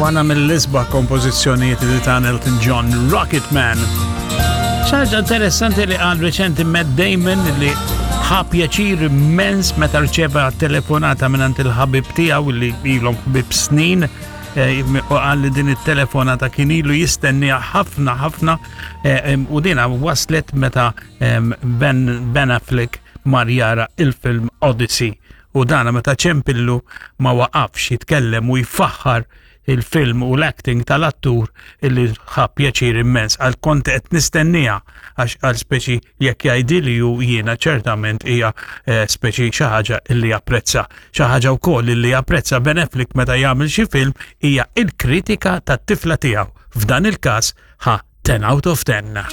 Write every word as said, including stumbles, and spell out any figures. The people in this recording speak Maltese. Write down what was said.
Waħda mill-isbaħ kompożizzjonijiet li ta' Elton John, Rocket Man. Xi ħaġa interessanti li qal reċenti Matt Damon li ħa pjaċir immens meta rċeva telefonata minn il-ħabib tiegħu li ilhom ħbib snin eh, u qal li din it-telefonata kien ilu jistenniha ħafna ħafna eh, u dina waslet meta em, Ben, Ben Affleck mar jara il-film Odyssey u dana meta ċempillu ma waqafx jitkellem u jfaħħar il-film u l-acting tal-attur illi ħa pjaċir immens għal kont qed nistennija għax għal speċi jekk jgħidili u jiena ċertament hija eh, speċi xi ħaġa illi japprezza. Xi ħaġa wkoll illi japprezza Ben Affleck meta jagħmel xi film hija il-kritika tat-tifla tiegħu. F'dan il-każ ħa ten out of ten.